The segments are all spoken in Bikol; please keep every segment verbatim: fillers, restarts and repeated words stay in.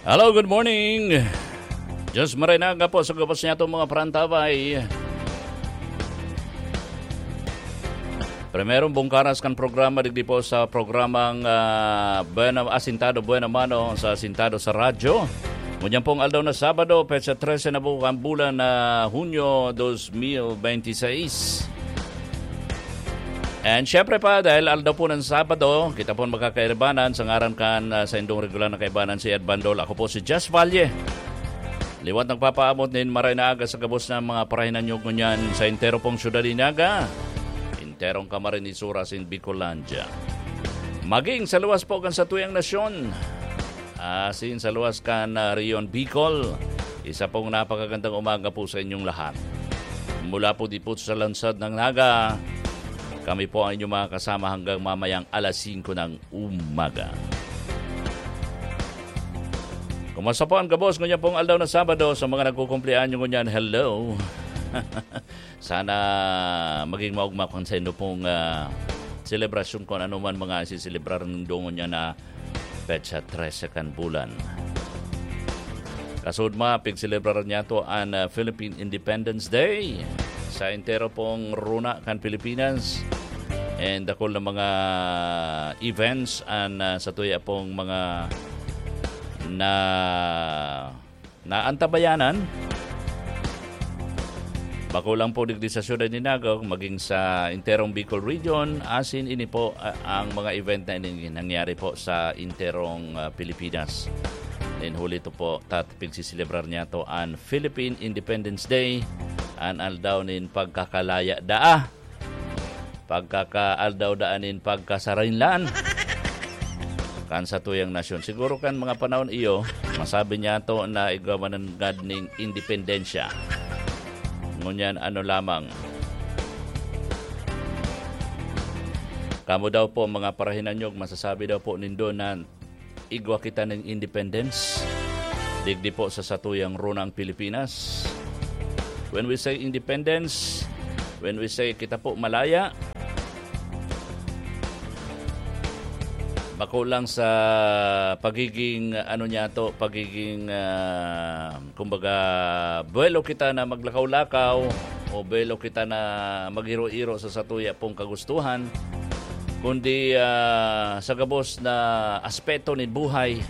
Hello, good morning. Diyos marhay na aga po sa gabos niyato mga parantabay. Primerong bungkaras kan programa digdi po sa programang, ah, Buena, Asintado Buena Mano sa Asintado sa Radyo. Ngunyan pong aldaw na Sabado, petsa trese na po ang bulan na Hunyo dos mil bente seis. And syempre pa, dahil aldaw po ng Sabado, kita po makakairbanan sa ngaran kan, ah, sa indong regular na kaibanan si Ed Bandol. Ako po si Jess Valle. Liwat nagpapaabot nin maray na aga sa gabos ng mga parahinanyog ngunyan sa entero pong syudad ni Naga, enterong Camarines Sur asin Bicolandia. Maging sa luwas po kan satuyang nasyon, asin sa luwas kan, ah, Riyon Bicol, isa pong napakagandang umaga po sa inyong lahat. Mula po di po sa lansad ng Naga, kami po ang inyong mga kasama hanggang mamayang alas singko ng umaga. Kumusta po ang gabos ngunyan pong aldaw na Sabado sa mga nagkukumpleanyo ngunyan? Hello! Sana maging maugma kan sa inyo pong, ah, selebrasyon kung ano man mga isiselebrar nindo ngunyan na petsa trese kan bulan. Kasud ma, pigselebrar niyato an, ah, Philippine Independence Day sa entero pong runa kan Pilipinas. And dakul na mga events an, ah, satuya pong mga na, naantabayanan. Bako lang po digdi sa siyudad ni Naga, maging sa enterong Bicol Region, asin ini po, ah, ang mga event na ini nangyari po sa enterong, ah, Pilipinas. Then huli to po, tat-, pigsiselebrar niyato an Philippine Independence Day, an aldaw nin pagkakalaya daa, pagkakaaldaw daan nin pagkasarinlan kan satuyang nasyon. Siguro kan mga panahon iyo, masabi niyato na igwa man nanggad ning independensya. Ngunyan ano lamang. Kamo daw po, mga parahinanyog, masasabi daw po nindo na igwa kita ning independence digdi po sa satuyang runang Pilipinas. When we say independence, when we say kita po malaya, bako lang sa pagiging, ano niyato, pagiging, ah, kumbaga, buwelo kita na maglakaw-lakaw o buwelo kita na mag-iro-iro sa satuya pong kagustuhan, kundi, ah, sa gabos na aspeto nin buhay,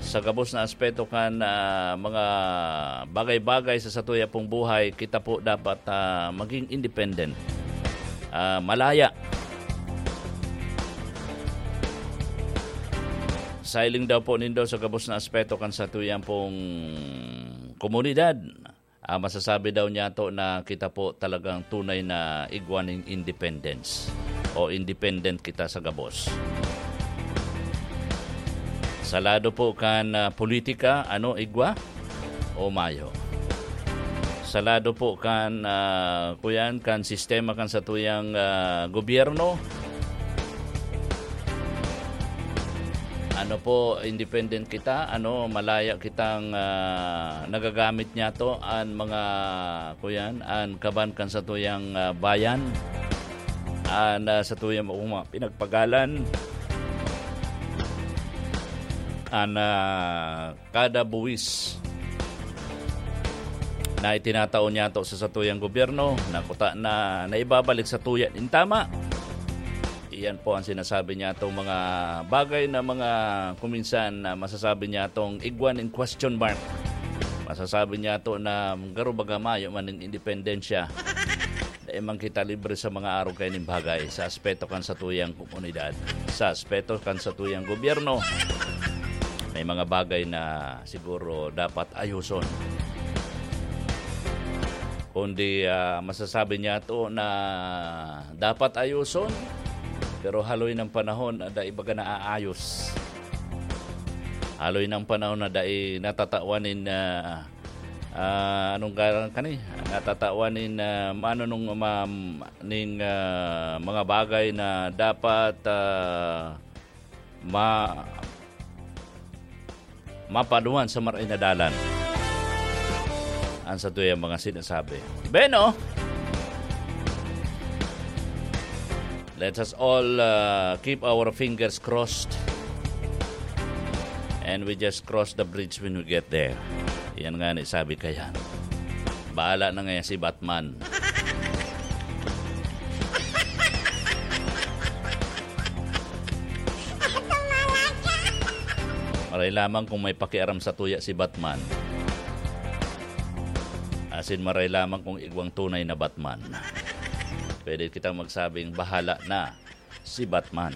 sa gabos na aspeto kan, ah, mga bagay-bagay sa satuya pong buhay, kita po dapat, ah, maging independent, ah, malaya. Sailing daw po nindo sa gabos na aspeto kan satuyang pong komunidad. Ah, masasabi daw niyato na kita po talagang tunay na igwa nin independence o independent kita sa gabos. Sa lado po kan, ah, politika, ano, igwa o mayo? Sa lado po kan, ah, kuyan, kan sistema kan satuyang, ah, gobyerno, ano po, independent kita, ano, malaya kitang, ah, nagagamit niyato an mga, kuyan, an kaban kan satuyang, ah, bayan, an, ah, satuyang mga pinagpagalan, an, ah, kada buwis na itinatao niyato sa satuyang gobyerno, na kuta na naibabalik satuya nin tama. Iyan po ang sinasabi niyatong mga bagay na mga kuminsan na masasabi niyatong igwa nin question mark. Masasabi niyato na garo baga mayo man nin independensya. Dai man kita libre sa mga arog kaining bagay sa aspeto kan satuyang komunidad, sa aspeto kan satuyang gobyerno. May mga bagay na siguro dapat ayoson. Kundi, ah, masasabi niyato na dapat ayoson, pero haloy ng panahon na dai baga naaayos. Haloy ng panahon na dai natatawan nin, ah, ah, anong ngaran kani? Natatawan nin, ah, maano nung ma-, ning, ah, mga bagay na dapat, ah, ma-, mapaduan sa maray na dalan. Ang satuyang mga sinasabi. Beno, let us all, ah, keep our fingers crossed And we just cross the bridge when we get there. Yan nga ni sabi kayan. Bahala na nga si Batman. Maray lamang kung may pakiaram sa tuya si Batman. Asin maray lamang kung igwang tunay na Batman. Pwede kitang magsabing bahala na si Batman.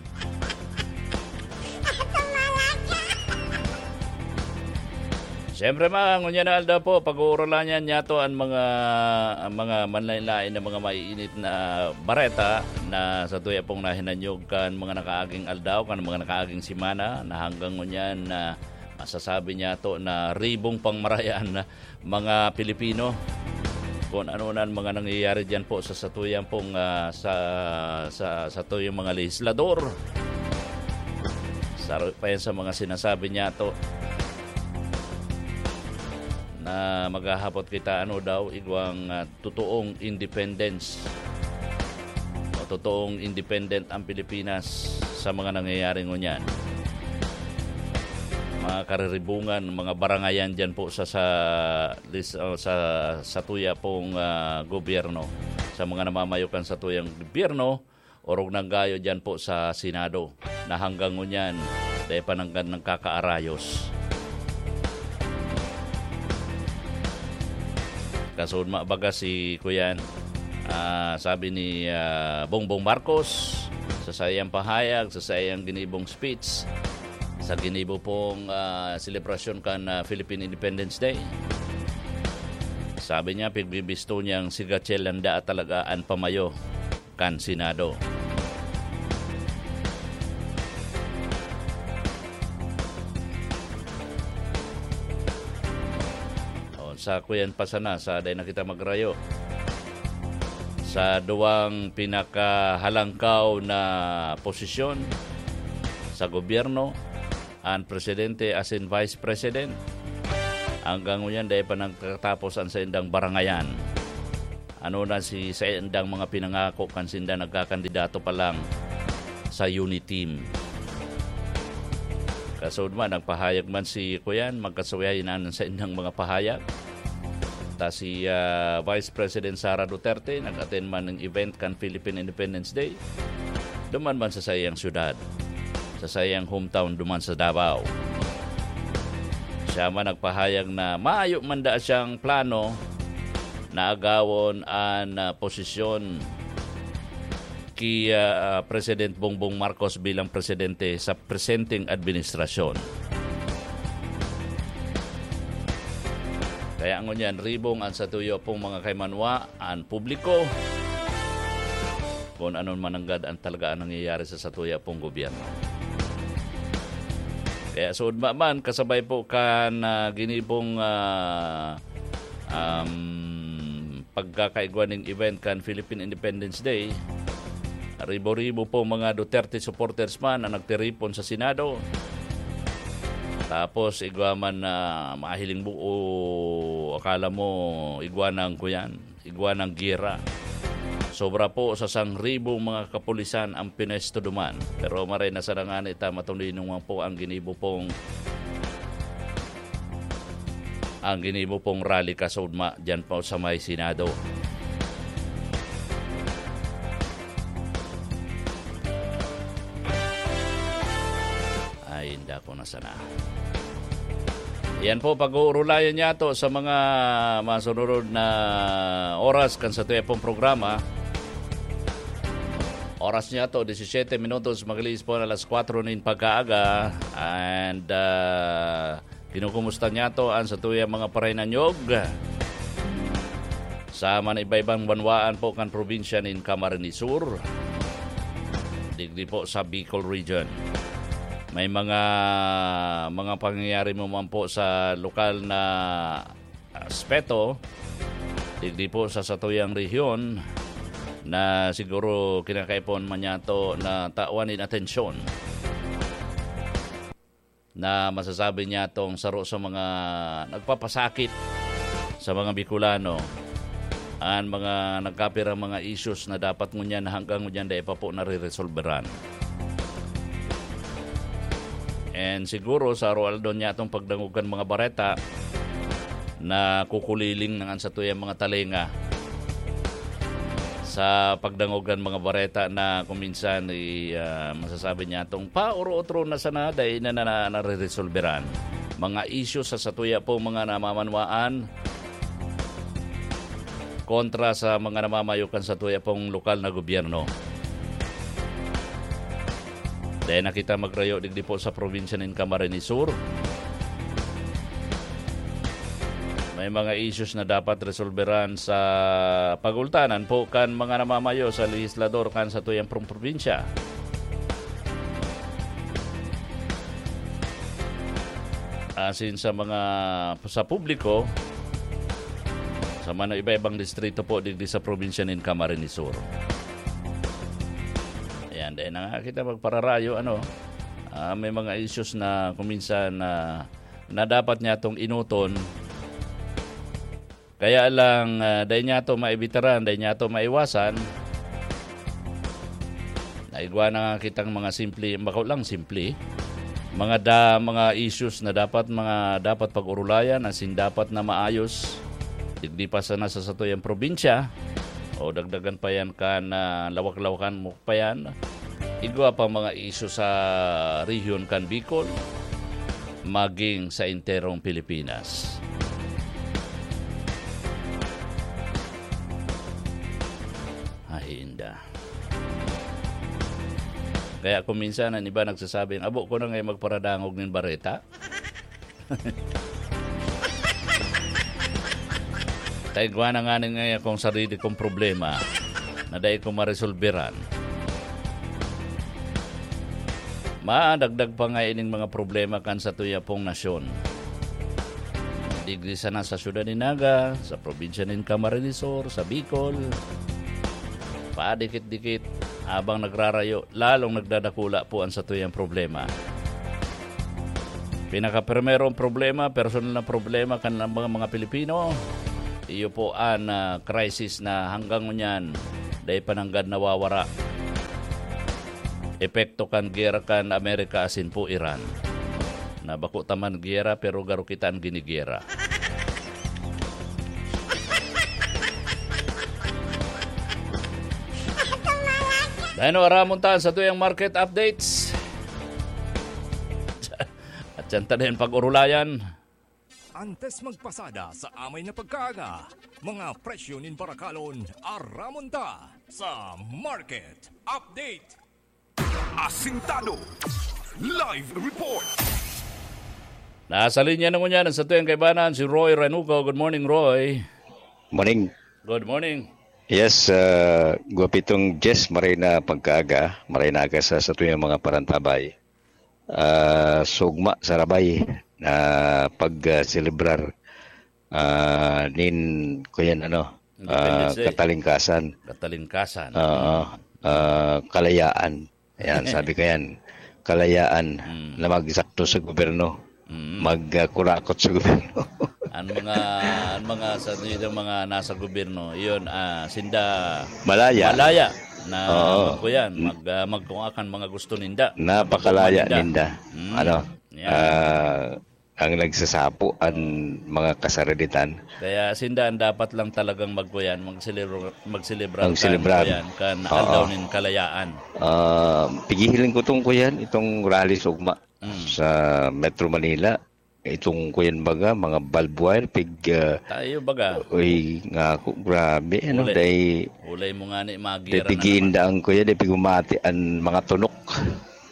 Siyempre, mga ngunyan na aldaw po, pag-uurulayan niyato an mga, ang mga manlain-lain na mga maiinit na bareta na sa tuya pong nahinanyog kan mga nakaaging aldaw, kan mga nakaaging semana, na hanggang ngunyan na masasabi niyato na ribong pangmarayan na mga Pilipino. Kung ano na ang mga nangyayari diyan po sa satuyang pong, ah, sa, sa, satuyang mga lehislador. Saro pa yan sa mga sinasabi niyato na maghahapot kita, ano daw, igwang, ah, totoong independence o totoong independent ang Pilipinas sa mga nangyayari ngunyan. Mga kariribungan, mga barangayan diyan po sa, sa, lis-, o sa, sa tuya pong, ah, gobyerno, sa mga namamayo kan sa tuyang gobyerno, orog nang gayo diyan po sa Senado, na hanggang ngunyan, dahil pa nang, nagkakaarayos. Kasudma baga si Kuyan, ah, sabi ni, ah, Bongbong Marcos, sa saiyang pahayag, sa saiyang ginibong speech, sa ginibo pong, ah, selebrasyon kan, ah, Philippine Independence Day. Sabi niya, pigbibisto niyang si Gatchel Landa talaga an pamayo kan Senado. O, sa kuyan pa sana, sa dai na kita magrayo. Sa duwang pinakahalangkaw na posisyon sa gobyerno, an presidente asin vice president. Hanggang ngunyan, dai pa nagtatapos an saindang barangayan. Ano na si saindang mga pinangako kan sinda nagkakandidato pa lang sa Uniteam. Kasudma, nagpahayag man si Kuyan, magkasuyayin an saindang mga pahayag. Ta si, ah, Vice President Sara Duterte, nag-attend man ng event kan Philippine Independence Day. Duman man sa saiyang syudad, sa saiyang hometown duman sa Davao. Siya man nagpahayag na mayo man da siyang plano na agawon an, ah, posisyon ki, ah, President Bongbong Marcos bilang presidente sa presenteng administrasyon. Kaya ngunyan, ribong an satuyo pong mga kaimanwa, an publiko, kung ano man nanggad an talaga ang nangyayari sa satuya pong gobyerno. Kaya suod man, kasabay po kan, ah, ginibong, ah, um, pagkakaigwa ning event kan Philippine Independence Day, ribo-ribo po mga Duterte supporters man ang nagtiripon sa Senado. Tapos igwa man na mahiling buo, akala mo igwa ng kuyan, igwa ng giyera. Sobra po sa sangribong mga kapulisan ang pinesto duman. Pero maray na sana ngani ta matuloy naman po ang ginibo pong, ang ginibo pong rally kasudma diyan po sa may Senado. Ay, indako na sana. Yan po, pag-uurulayan niya to sa mga masunod na oras kan sa tuyang pong programa. Oras niya to, disisyete minutos, mag-alis po na alas kwatro nin pagkaaga. And, ah, kinukumusta niya to ang sa tuyang mga parinanyog. Sa man iba-ibang banwaan po kan probinsya nin Camarines Sur, digdi po sa Bicol Region. May mga, mga pangyayari mo man po sa lokal na aspeto, digdi po sa satuyang rehiyon na siguro kinakaipon man niya to na tawan nin atensyon. Na masasabi niya tong saro sa mga nagpapasakit sa mga Bicolano, an mga nagkapirang mga issues na dapat ngunyan hanggang ngunyan dai pa po nare-resolveran. And siguro sa aroaldo niya itong pagdangog kan mga bareta na kukuliling na an satuyang mga talinga sa pagdangog kan mga bareta na kung minsan i-, ah, masasabi niya itong pauro-otro na sana dahil na, na, na, nareresolberan. Mga isyu sa satuya po mga namamanwaan kontra sa mga namamayo kan satuya pong lokal na gobyerno. Dai na kita magrayo digdi po sa probinsya nin Camarines Sur. May mga issues na dapat resolberan sa pagultanan po kan mga namamayo sa legislador kan satuyang prom-, probinsya. Asin sa mga, sa publiko, sa mga iba-ibang distrito po digdi sa probinsya nin Camarines Sur. Ayan, dahil na nga kita magpararayo, ano, ah, may mga issues na kuminsan na, na dapat niya itong inuton. Kaya lang, ah, dahil niya ito maibitaran, dahil niya ito maiwasan, naigwa na nga kitang mga simple, bako lang simple, mga da-, mga issues na dapat, mga dapat pag-urulayan, asin dapat na maayos. Digdi pa sana sa satuyang probinsya, o dagdagan pa yan kan, ah, lawak-lawakan mo pa yan. Igwa pa mga isyu sa rehiyon kan Bicol, maging sa enterong Pilipinas. Ay, inda. Kaya kung minsan, ang iba nagsasabing, "Abo ko na ngayon magparadangog nin bareta." Ta igwa na ngani ngaya akong sarili kong problema na dai ko maresolberan. Madagdag pa nga ining mga problema kan satuya pong nasyon. Digdi sana sa syudad ni Naga, sa probinsya nin Camarines Sur, sa Bicol, padikit-dikit, habang nagrarayo, lalong nagdadakula po ang satuyang problema. Pinakaprimerong problema, personal na problema kan mga, mga Pilipino, iyo po an, ah, crisis na hanggang ngunyan dai pa nanggad nawawara. Epekto kan giyera kan Amerika asin po Iran. Na bako ta man giyera, pero garo kita an ginigiyera. Dahil no, aramon ta sa tuyang market updates. At yan ta din pag-urulayan. Antes magpasada sa amay na pagkaaga, mga presyo nin barakalon, aramon ta sa market update. Asintado. Live report. Nasa linya na ngunyan ang satuyang kaibanan, si Roy Ranuco. Good morning, Roy. Morning. Good morning. Yes, ah, gwapitong Jess, maray na pagkaaga, maray na aga sa satuyang mga parantabay. Ah, sugma sa rabay na pag, ah, selebrar, ah, nin, kuyan, ano, Independence ah, Day. Katalingkasan. Katalingkasan. Oo. Ah, kalayaan. Ayan, sabi ko yan. Kalayaan Mm. na magsakto sa gobyerno. Mm. Mag, ah, kurakot sa gobyerno. Ang mga, ang mga sa, yung mga nasa gobyerno, yun, ah, sinda Malaya. malaya na Oo. magkuyan, Mm. mag, ah, magkuha kan mga gusto ninda. Napakalaya Magkuha ninda. ninda. Mm. Ano? Yan. Ah, ang nagsasapo ang mga kasarilitan. Kaya sinda ang dapat lang talagang magkuyan, magselebra-, magselebra Magselebrar. kan kuyan, kan Oo. Aldaw nin Kalayaan. Ah, pigihiling ko tong kuyan, itong rally sa ugma Mm. sa Metro Manila. Itong kuyan baga, mga barbed wire, pig, ah, Tayo baga. uy, nga ako, grabe, ano, Uli. dahil Ulay mo nga ni, dahil magira na naman. pigiinda ang kuyan, dahil pigumati ang mga tunok,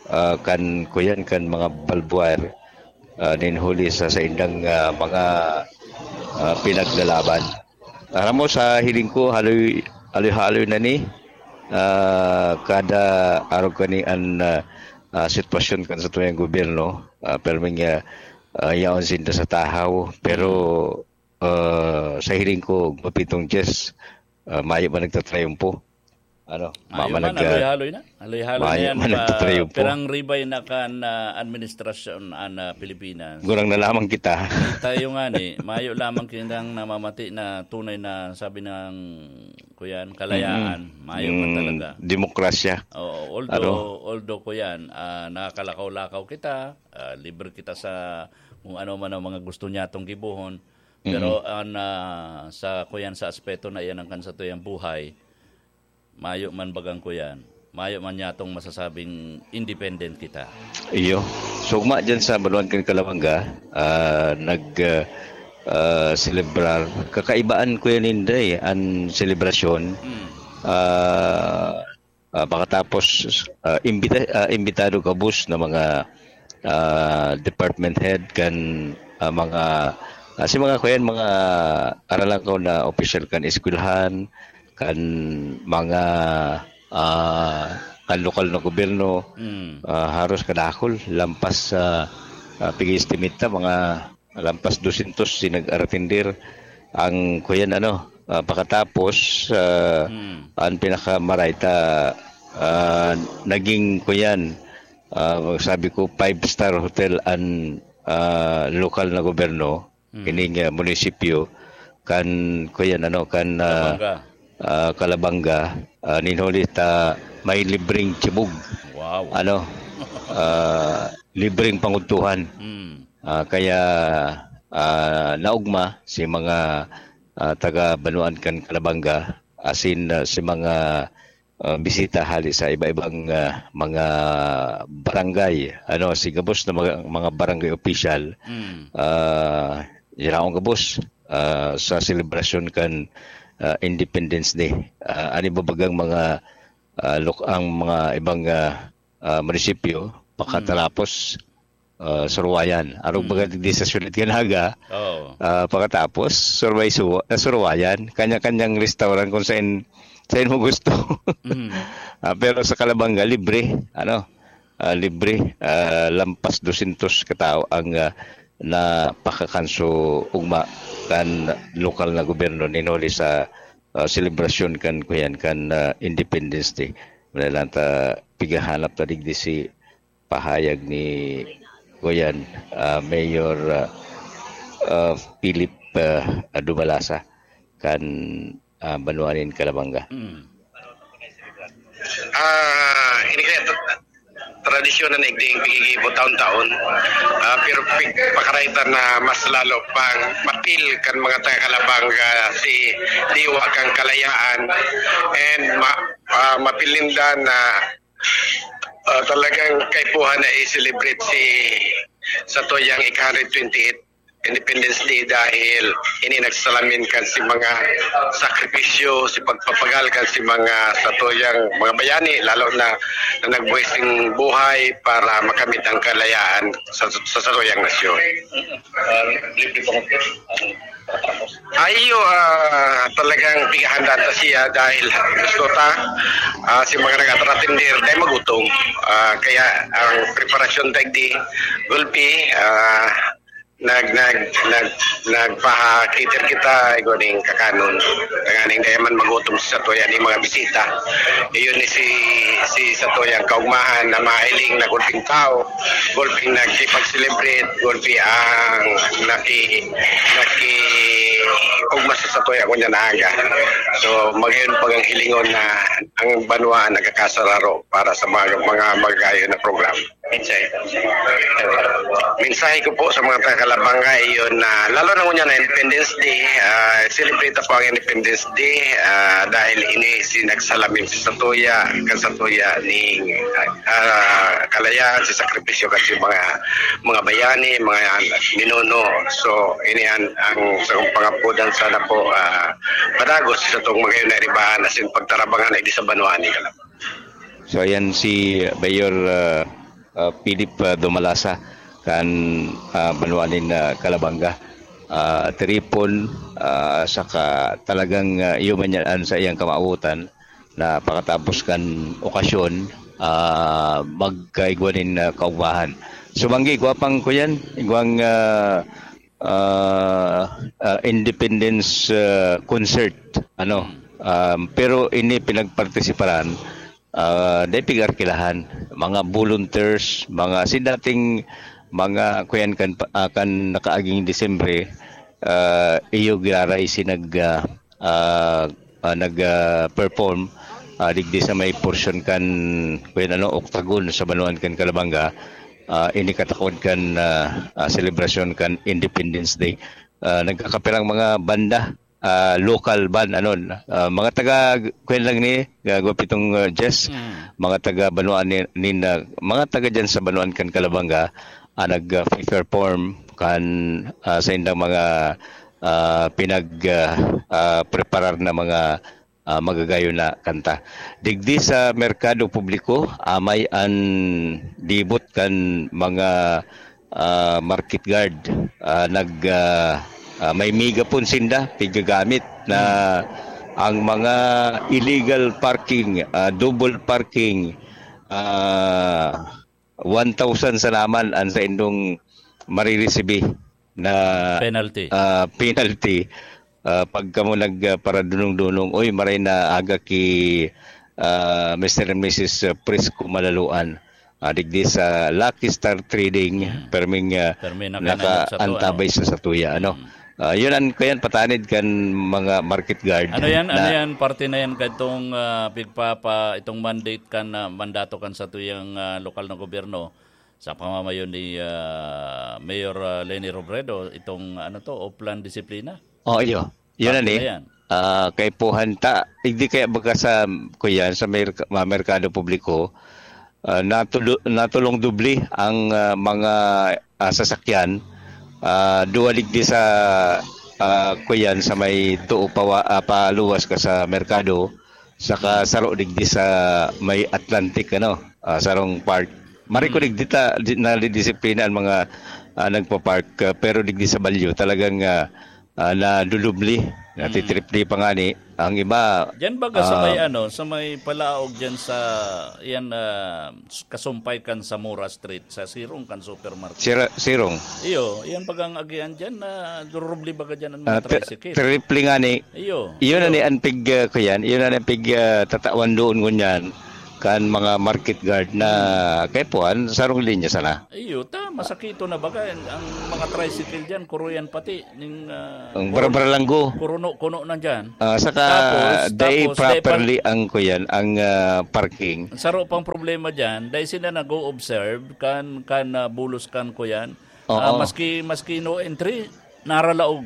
ah, kan kuyan, kan mga barbed wire. Ah, nin huli sa saindang, ah, mga, ah, pinaglalaban. Aram mo, sa hiling ko, haloy, haloy-haloy na ni, ah, kada arog kani an, ah, ah, sitwasyon kan satuyang gobyerno, ah, perming, ah, ah, yaon sinda sa tahaw. Pero, ah, sa hiling ko, mapitong Diyos, ah, mayo man nagtatrayumpo. Ano, Mayo mama man, nag, ah, haloy-haloy na. Haloy-haloy na mayo yan, man pa, nagtatrayumpo. Pirang ribay na kan, ah, administrasyon an, ah, Pilipinas. Gurang na lamang kita. Tayo nga ni, mayo lamang kitang namamati na tunay na sabi ng kuyan, kalayaan, mayo man talaga. Demokrasya. Oo, although, although, kuyan, ah, nakakalakaw-lakaw kita, ah, libre kita sa kung ano man ang mga gusto niya atong gibohon. Pero an, ah, sa, kuyan, sa aspeto na iyan ang kan satuyang buhay, mayo man bagang, kuyan, mayo man niya atong masasabing independent kita. Iyo. Sugma dyan sa Banuan kan Kalabanga, ah, nag, ah, ah, selebrar. Kakaibaan, Kuya Ninday, an selebrasyon. Mm. Ah, ah, pakatapos, ah, imbita-, ah, imbitado gabos na mga, ah, department head kan, ah, mga, ah, si mga, kuyan, mga aral lang ko na opisyal kan eskwelahan, kan mga, ah, kan lokal na gobyerno, Mm. ah, haros kadakol, lampas sa, ah, pig-estimate ta, mga lampas dosyentos si nag-aratender. Ang, kuyan, ano, ah, pakatapos, ah, Mm. ang pinakamaray ta, ah, naging, kuyan, ah, sabi ko, five-star hotel an, ah, lokal na gobyerno, Mm. ining, ah, munisipyo, kan, kuyan, ano, kan, ah, Kalabanga. ah, Kalabanga, ah, nin huli ta may libreng chibog. Wow. Ano, ah, libreng pangudtuhan. Mm. Ah, kaya, ah, naugma si mga, ah, taga Banuan kan Kalabanga, asin, ah, si mga, ah, bisita hali sa iba-ibang, ah, mga barangay, ano, si gabos na mga, mga barangay official, Mm. ah, yaraon gabos, ah, sa selebrasyon kan, ah, Independence Day. Ah, ani ba bagang mga, ah, lok-, ang mga ibang, ah, ah, munisipyo, Mm. pakatarapos, ah, Surwayan. Arog Mm. baga digdi sa syudad kan Naga, Oo. ah, pakatapos, Surway Su-, ah, Surwayan. Kanya-kanyang restaurant kung saan, saan mo gusto. Mm. Ah, pero sa Kalabanga, libre, ano, ah, libre, ah, lampas dosyentos katao ang, ah, napakakanso ugma kan lokal na gobyerno nin huli sa, ah, selebrasyon kan, kuyan, kan, ah, Independence Day. Wala lang ta, pigahanap ta digdi si pahayag ni, kuyan, ah, Mayor, ah, ah, Philip, ah, Dumalasa kan, ah, banwa nin Calabanga. Mm. Ah, ini kaya tra-, tradisyon na naigding pigigibo taon-taon. Ah, pero pi-, pakaraytan na mas lalo pang mapil kan mga taga Calabanga si Diwa kan Kalayaan and ma-, ah, mapil ninda na, ah, talagang kaipuhan na i-celebrate si satuyang ika-hundred twenty-eight Independence Day dahil ini nagsalamin kan si mga sakripisyo, si pagpapagal kan si mga satuyang mga bayani, lalo na, na nagbuhis ning buhay para makamit ang kalayaan sa, sa satuyang nasyon. Ah, libre pa mo, ano, tapos? Ayo, ah, talagang pigahandaan ta siya dahil gusto ta, ah, si mga nag-atratindir dahil magutom. Ah, kaya ang preparasyon ta digdi, gulpi, ah, nag-, nag-, nag-, nagpaha-cater kita, igwa ning kakanon. Tanganing dai man magutom si satuya ning mga bisita. Iyon ni si, si satuyang kaugmahan na mahiling na gulping tao, gulping nagkipag-celebrate, gulpi ang naki-, naki-ugma sa satuya kunya na aga. So, magayon pag ang hilingon na ang banwa nagkakasararo para sa mga, mga magayon na programa. Mensahe. Mensahe ko po sa mga taga Calabanga, iyon na, lalo na ngunyan na Independence Day, ah, celebrate po ang Independence Day, ah, dahil ini si nagsalamin si satuya, kan satuya ning, ah, kalayaan, si sakripisyo kan si mga, mga bayani, mga minuno. So, ini ang, ang sa pangapudan sana po, ah, padagos sa tong mga yun na ribahan, as in pagtarabangan ay di sa banwa ni Calabanga. So, ayan si Mayor, ah, ah, Philip, ah, Dumalasa kan, ah, banwa nin, ah, Calabanga. Ah, tiripon, ah, saka talagang, ah, iyo man yan an sa iyang kamawotan na pakatapos kan okasyon, ah, magkaigwa nin, ah, kaugmahan. So, banggi, igwa pang kuyan, igwang, ah, ah, ah, Independence, ah, Concert, ano. Um, pero ini pinagpartisiparan, ah, dai pig-arkilahan, mga volunteers, mga si dating mga kuyan kan pa, ah, kan nakaaging Disyembre, ah, iyo giraray si nag, ah, ah, ah, nag, ah, perform, ah, digdi sa may porsyon kan, kuyan ano, Octagon sa banwaan kan Calabanga, ah, ini katakod kan, ah, ah, selebrasyon kan Independence Day. Ah, nagkakapirang mga banda, ah, local band, ano, ah, mga taga, kuyan lang ni, ah, Guapitong, ah, Jess, Mm. mga taga banwaan ni, nin, ah, mga taga dyan sa banwaan kan Calabanga, ah, nag, ah, perform kan, ah, sa indang mga, ah, pinag, ah, ah, preparar na mga, ah, magagayon na kanta. Digdi sa merkado publiko, amay an debut kan mga, ah, market guard. Ah, nag, ah, ah, may megaphone sinda, pigagamit na ang mga illegal parking, ah, double parking, ah, one thousand sa naman ang sa indong mariresibi na, Penalty. ah, penalty. Ah, pag kamo nag, ah, paradunong-dunong, "Uy, maray na aga ki, ah, Mister and Missus Prisco Malaluan." Ah, digdi sa Lucky Star Trading, Hmm. perming, ah, Permi na kayo naka-, nag-sa to, ano? antabay sa satuya, ano? Hmm. Ah, yun ang, kaya patanid kan mga market guard Ano yan? Ano na yan? Parte na yan kadtong, ah, pigpapa-, itong mandate kan, ah, mandato kan satuyang, ah, lokal na gobyerno sa pamamayon ni, ah, Mayor, ah, Leni Robredo, itong, ano to, Oplan Disiplina. Oh, iyo. Yun Parte na ni. na yan. Ah, kaipuhan ta, hindi kaya baga sa, kuyan, sa mer-, mga merkado publiko, ah, natulo-, natulong dubli ang, ah, mga, ah, sasakyan. Ah, duwa digdi sa, ah, kuyan, sa may tuo pawa-, ah, paluwas ka sa merkado, saka saro digdi sa may Atlantic, ano, ah, sarong park. Mariko Hmm. digdi ta, di, nadidisiplina ang mga, ah, nagpa-park, ah, pero digdi sa Balyo, talagang, ah, ah, nadudubli, Hmm. natitripli pa ngani. Ang iba, Diyan baga sa may, ah, ano, sa may palaog diyan sa, yan, ah, s-, kasumpay kan Zamora Street, sa sirong kan supermarket. Sira-, sirong. Iyo, yan bagang agian diyan, na durubli baga diyan ang mga Ah, tri-, tricycle. triple ngani. Iyo, Iyon na iyo. ni ang pig, ah, kuyan, iyon na ni ang pig, ah, tatawan doon ngunyan kan mga market guard na Hmm. kaipuhan, sarong linya sana. Iyo, ta, masakito na baga. Ang, ang mga tricycle diyan, kuruyan pati. Ning, ah, Ang kuro-, barabaralanggo. kuruno-kuno na diyan. Ah, saka Tapos, dai tapos, dai pa properly ang kuyan, ang, ah, parking. Saro pang problema diyan, dai sila nag-o-observe kan, kan, ah, bulos kan kuyan. Oo. Ah, maski, maski no entry, naralaog.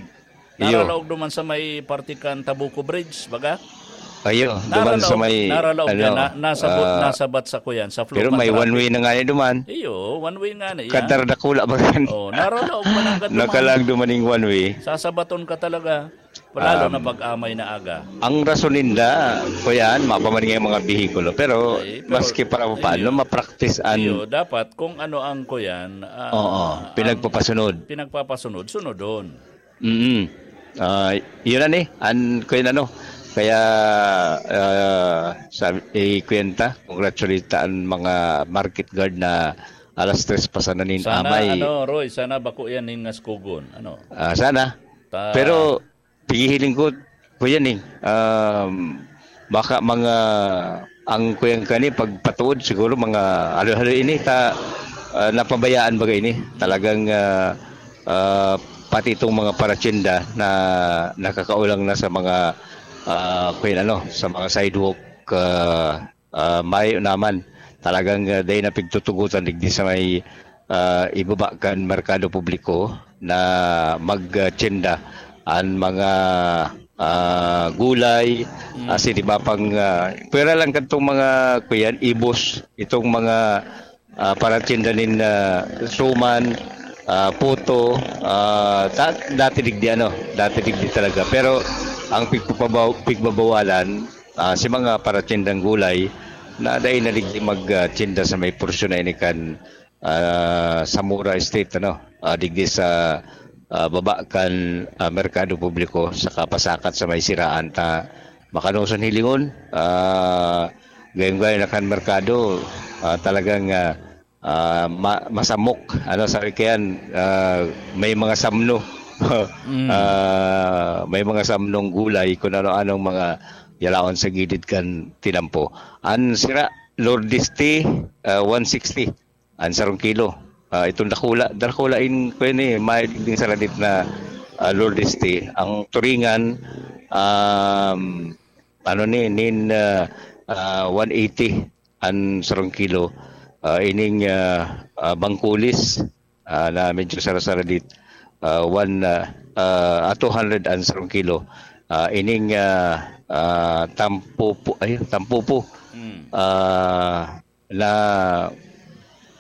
Iyo. Naralaog duman sa may parte kan Tabuco Bridge, baga? Ayo, duman sa Naralaog, may, naralaog ano, yan. Na, nasabot, ah, nasabat sa kuyan, sa flow pero may contract. One way na nga yan duman. Iyo, one way nga na yan. Kadar dakula ba yan? Oh, naralaog man ang gaduman. Nakalag dumaning one way. Sasabaton ka talaga. Lalo Um, na pag amay na aga. Ang rason ninda, kuyan, mapaman nga yung mga bihikulo. Pero, Ay, pero, maski para paano, iyo. ma-practice an Iyo, dapat kung ano ang kuyan, ah, Oo, ang pinagpapasunod. pinagpapasunod, sunodon. Mm. Ah, yun na ni, an, kuyan ano. Kaya, ah, sabi, eh, kuyan ta, congratulate ta an mga market guard na alas tres pa sana nin Sana, amay. ano, Roy, sana bako yan ning ngaskugon. Ano? Ah, sana. Ta- Pero, pigihiling ko, kuyan eh, um, baka mga, ang kuyan kani, pagpatuod siguro mga halo-halo ini, ta, ah, napabayaan baga ini. Talagang, ah, ah, pati itong mga paratyenda na nakakaulang na sa mga, ah, kuyan ano, sa mga sidewalk, ah, ah, mayo naman. Talagang, ah, dai na pigtutugotan digdi sa may, ah, ibaba kan merkado publiko na magtienda an mga, ah, gulay, Mm. asin iba pang, ah, pwera lang kadtong mga, kuyan, ibos, itong mga, ah, paratienda nin, ah, suman, ah, puto, ah, ta-, dati digdi, ano, dati digdi talaga. Pero ang pigpapabaw-, pigbabawalan, ah, si mga paratiendang gulay na dai na digdi mag, ah, tienda sa may porsyon na ini kan, ah, Zamora Street, ano, ah, digdi sa, ah, baba kan, ah, Merkado Publiko sa kapasakat sa may siraan ta makanoson hilingon, ah, gayong-gayon na kan merkado, ah, talagang, ah, ah, ma-, masamok. Ano, sabi kayan, ah, may mga samno. Mm. Ah, may mga samnong gulay, kung ano-anong mga yalaon sa gilid kan tinampo. An sira, Lourdes tea, ah, one sixty. An sarong kilo. Ah, itong dakula, dakula in, kuwan eh, may ding saradit na, ah, Lourdes tea. Ang turingan, um, ano ni, nin, ah, ah, one eighty an sarong kilo. Ah, ining, ah, ah, bangkulis, ah, na medyo sara-sara dit, ah, one, ah, ah, ah, two hundred an sarong kilo. Ah, ining, ah, ah, tampupu-, ay, tampupu. Hmm. Ah, na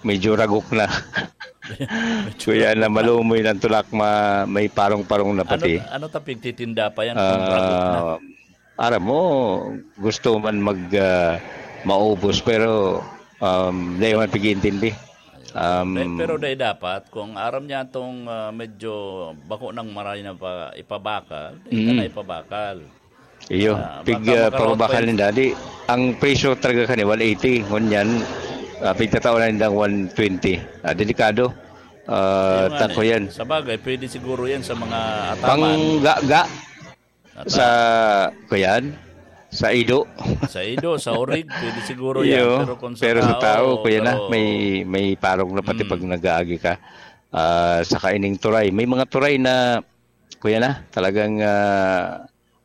medyo ragok na. Medyo Kuya, ragok na na. Malumoy ng tulak, ma-, may parong-parong na Ano, pati. ano ta pigtitinda pa yan kung ragok na? Ah, aram mo, gusto man mag, ah, maubos, pero, um, dai man pag-iintindi. Ayun. Um, Pe-, pero dai dapat, kung aram niya itong, ah, medyo bako ng maray na pa, ipabakal, dai ka Mm. na ipabakal. Iyo, Ah, pig, baka ah, makaroon pa pababakal yun. Ninda. Di, ang presyo talaga kani, one eighty. Ngunyan, ah, pigtatao na nindang one twenty. Ah, delikado. Ah, Yung ano tako eh, yan. Sa bagay, pwede siguro yan sa mga ataman. Panggaga Ata- sa, kuyan, sa ido. Sa ido, sa orig, pwede siguro yan. Iyo, Pero kung sa pero sa tao, tao, kuya na, pero may, may parong na pati Mm. pag nag-aagi ka. Ah, saka ining turay. May mga turay na, kuya na, talagang, ah,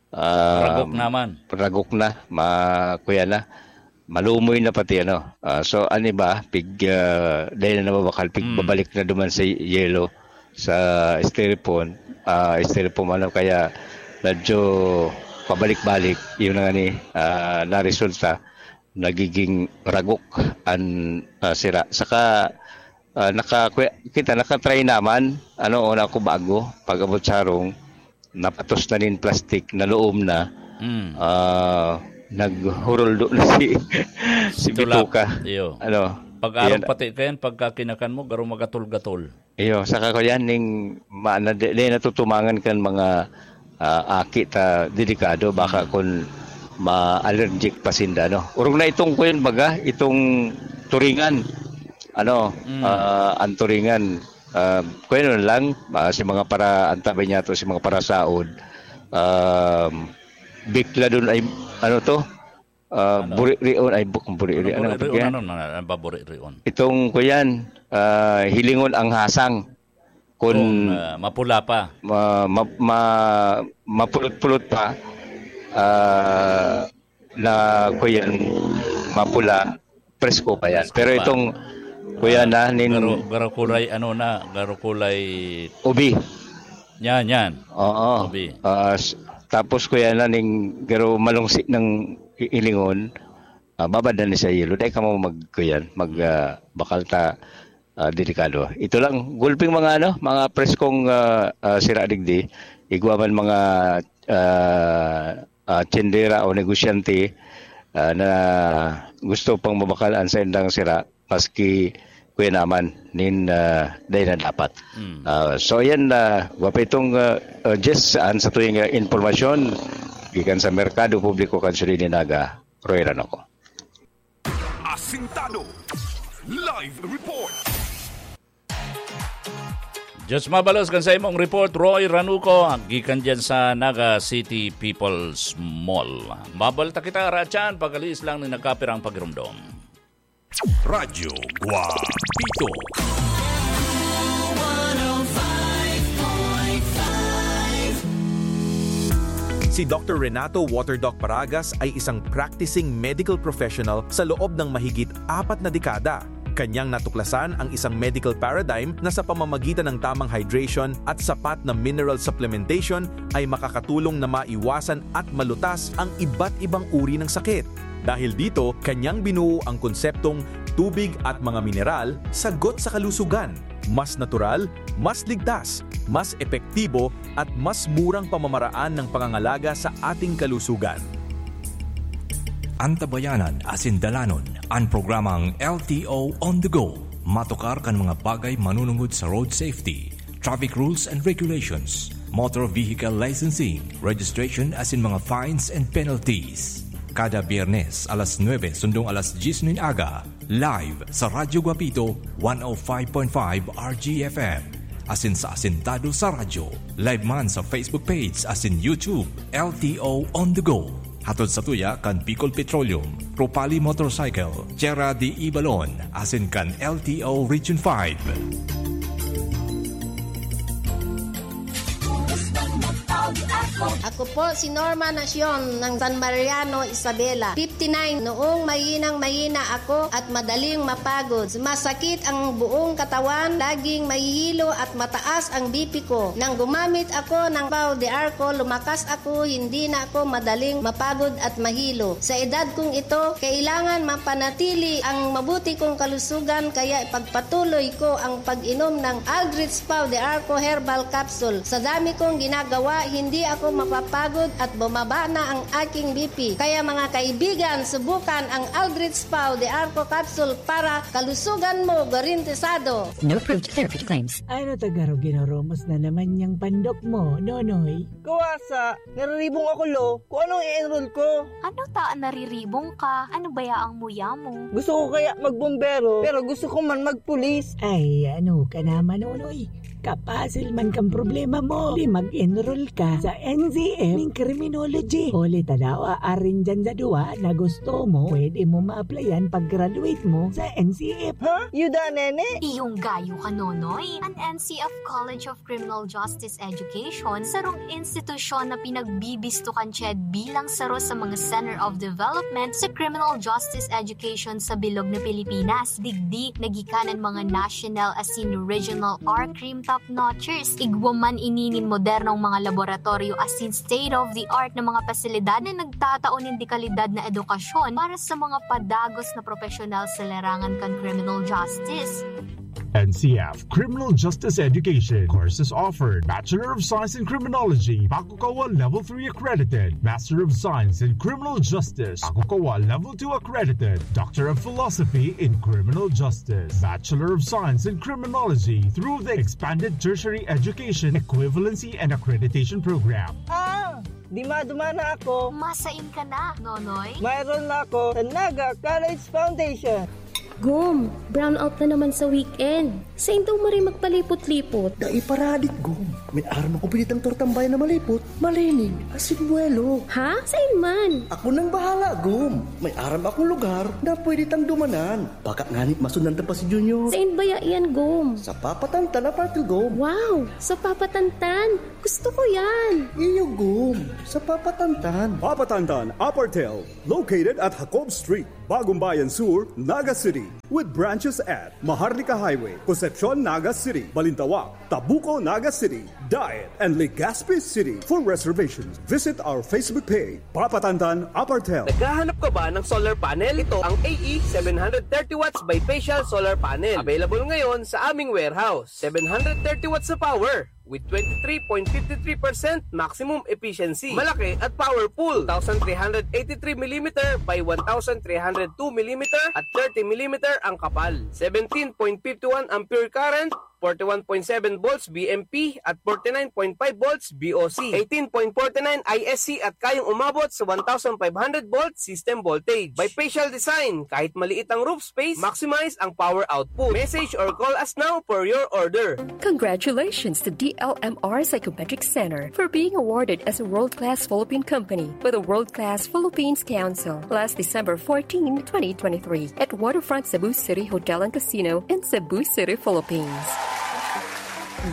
ah, Ragok naman. ragok na, ma-, kuya na, malumoy na pati, ano. Ah, so, ano ba, pig, ah, dahil na nababakal, pig Mm. babalik na duman sa yelo, sa styrofoam, ah, styrofoam, ano, kaya medyo pabalik-balik, yun na nga ni, ah, naresulta, nagiging ragok an, ah, sira. Saka, ah, naka-, kuya, kita, nakatry naman, ano, una ko bago, pag-abot sa harong, napatos na nin plastic, naloom na, Mm. ah, naghuruldo na si, si Tulak. Bituka. Iyo. Ano, Pag-arog yan. Pati kayan, pagka kinakan mo, garo magatol-gatol. Iyo, saka ko yan, ning ma-, na, di, di natutumangan kan mga, ah, aki ta delikado, baka Mm. kun ma-allergic pa sinda, no? Urog na itong, kuyan, baga, itong turingan. Ano, Mm. ah, ang turingan, ah, kuyan lang, ah, si mga para, ang tabi niya to, si mga parasaod, um, bikla dun ay, ano to? Ah, Ano? Buririon, ay, buk-, buriri-, Ano, ano, buririon, pag-, ano, ano, ano ba buririon? Itong, kuyan, ah, hilingon ang hasang. Kun Kung, ah, mapula pa. ma-, ma-, ma-, mapulot-pulot pa, ah, na, kuyan, mapula, presko pa yan. Presko Pero pa. itong, kuyan, Ah, na, nin garo-, garo kulay, ano na, garo kulay Ubi. Yan, yan. Oo. Ubi. Ah, s-, tapos, kuyan, na, ning garo malungsi ng i-, ilingon, ah, babad na ni sa yelo. Dai ka mo mag-, kuyan, mag, ah, bakal ta, ah, delikado. Ito lang, gulping mga ano, mga preskong, ah, ah, sira digdi, igwa man mga, ah, ah, tindera o negosyante, ah, na gusto pang mabakal an saindang sira, maski kuya naman, nin, ah, dai na dapat. Mm. Ah, so, yan, ah, gwapo itong, ah, ah, Jess, an sa tuyang, ah, impormasyon, gikan sa Merkado Publiko kan Siyudad nin Naga, Roy Ranoco. Asintado. Live report. Diyos mabalos kan sa imong report, Roy Ranuco, gikan dyan sa Naga City People's Mall. Mabalta kita, Rachan, pag-alis lang ni nagkapirang pagirumdom. Radyo Guapito. Si Doctor Renato Waterdoc Paragas ay isang practicing medical professional sa loob ng mahigit apat na dekada. Kanyang natuklasan ang isang medical paradigm na sa pamamagitan ng tamang hydration at sapat na mineral supplementation ay makakatulong na maiwasan at malutas ang iba't ibang uri ng sakit. Dahil dito, kanyang binuo ang konseptong tubig at mga mineral, sagot sa kalusugan. Mas natural, mas ligtas, mas epektibo, at mas murang pamamaraan ng pangangalaga sa ating kalusugan. Antabayanan asin dalanon an programang L T O On The Go. Matukar kan mga bagay manunungod sa road safety, traffic rules and regulations, motor vehicle licensing, registration asin mga fines and penalties. Kada Biyernes, alas nuebe sundong alas dyes nin aga, live sa Radyo Guapito, one oh five point five R G F M. Asin sa Asintado sa Radyo. Live man sa Facebook page asin YouTube, L T O On The Go. Hatod sa tuya kan Bicol Petroleum, Ropali Motorcycle, Tierra de Ibalon, asin kan L T O Region five. Ako po si Norma Nacion ng San Mariano, Isabela, fifty-nine. Noong mahinang-mahina ako at madaling mapagod, sumasakit ang buong katawan, laging mahihilo at mataas ang B P ko. Nang gumamit ako ng Pau de Arco, lumakas ako, hindi na ako madaling mapagod at mahilo. Sa edad kong ito, kailangan mapanatili ang mabuti kong kalusugan, kaya ipagpatuloy ko ang pag-inom ng Aldrich Pau de Arco Herbal Capsule. Sa dami kong ginagawa, hindi ako mapapagod at bumaba na ang aking B P. Kaya mga kaibigan, subukan ang Aldrich Pau de Arco Capsule para kalusugan mo garantisado. No approved therapy claims. Ano ta garo ginurumos na naman niyang pandok mo, Nonoy? Kawasa, nariribong ako, lo. Kung anong i-enroll ko? Ano ta an nariribong ka? Ano baya ang muya mo? Gusto ko kaya magbombero, pero gusto ko man magpulis. Ay, ano ka naman, Nonoy? Kapasil man kang problema mo. Di mag-enroll ka sa N C F ning criminology. Huli ta daw, aarin dyan sa duwa na gusto mo, pwede mo ma-applyan pag-graduate mo sa N C F. Ha? Yuda, nene? Iyong gayo ka, Nonoy. An N C F College of Criminal Justice Education, sarong institusyon na pinagbibisto kan CHED bilang saro sa mga Center of Development sa criminal justice education sa bilog na Pilipinas. Digdi, nagikanan mga national asin regional R-Crim top-notchers. Igwa man ini nin modernong mga laboratoryo asin state-of-the-art na mga pasilidad na nagtatao nin dekalidad na edukasyon para sa mga padagos na profesional sa larangan kan criminal justice. N C F Criminal Justice Education. Courses offered: Bachelor of Science in Criminology, Pakukawa Level three accredited; Master of Science in Criminal Justice, Pakukawa Level two accredited; Doctor of Philosophy in Criminal Justice, Bachelor of Science in Criminology through the Expanded Tertiary Education Equivalency and Accreditation Program. Ah! Di madumana ako. Masain ka na, Nonoy? Mayroon na ako sa Naga College Foundation. Gom, brownout na naman sa weekend. Sain daw maray magpalipot-lipot? Dai paradik, Gom. May aram akong pinitang tortang bayan na malipot, malinig, asin buwelo. Ha? Sain man? Ako nang bahala, Gom. May aram akong lugar na pwede tang dumanan. Baka ngani masundan ta pa si Junior. Sain baya yan, Gom? Sa Papatantan, Apatil, Gom. Wow! Sa Papatantan? Gusto ko yan! Iyo, Gom. Sa Papatantan. Papatantan, Apartel, located at Jacob Street, Bagumbayan Sur, Naga City, with branches at Maharlika Highway, Concepcion, Naga City, Balintawak, Tabuco, Naga City, Daet, and Legazpi City. For reservations, visit our Facebook page, Papatantan Apartel. Naghahanap ka ba ng solar panel? Ito ang A E seven hundred thirty watts bifacial solar panel. Available ngayon sa aming warehouse. Seven hundred thirty watts na power with twenty-three point five three percent maximum efficiency. Malaki at powerful. Two thousand three hundred eighty-three millimeter by one thousand three hundred two millimeter at thirty millimeter ang kapal. Seventeen point five one ampere current, forty-one point seven volts V M P at forty-nine point five volts V O C, eighteen point forty-nine I S C at kayang umabot sa one thousand five hundred volt system voltage. Bifacial design, kahit maliit ang roof space, maximize ang power output. Message or call us now for your order. Congratulations to D L M R Psychometric Center for being awarded as a world-class Philippine company by the World Class Philippines Council last December fourteen, twenty twenty-three, at Waterfront Cebu City Hotel and Casino in Cebu City, Philippines.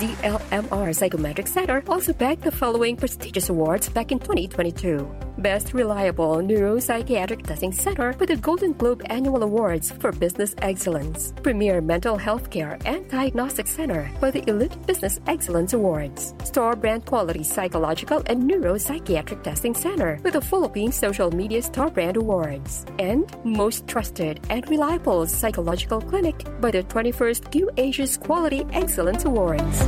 D L M R Psychometric Center also bagged the following prestigious awards back in twenty twenty-two: Best Reliable Neuropsychiatric Testing Center with the Golden Globe Annual Awards for Business Excellence, Premier Mental Health Care and Diagnostic Center for the Elite Business Excellence Awards, Star Brand Quality Psychological and Neuropsychiatric Testing Center with the Philippine Social Media Star Brand Awards, and Most Trusted and Reliable Psychological Clinic by the twenty-first Q Asia's Quality Excellence Awards.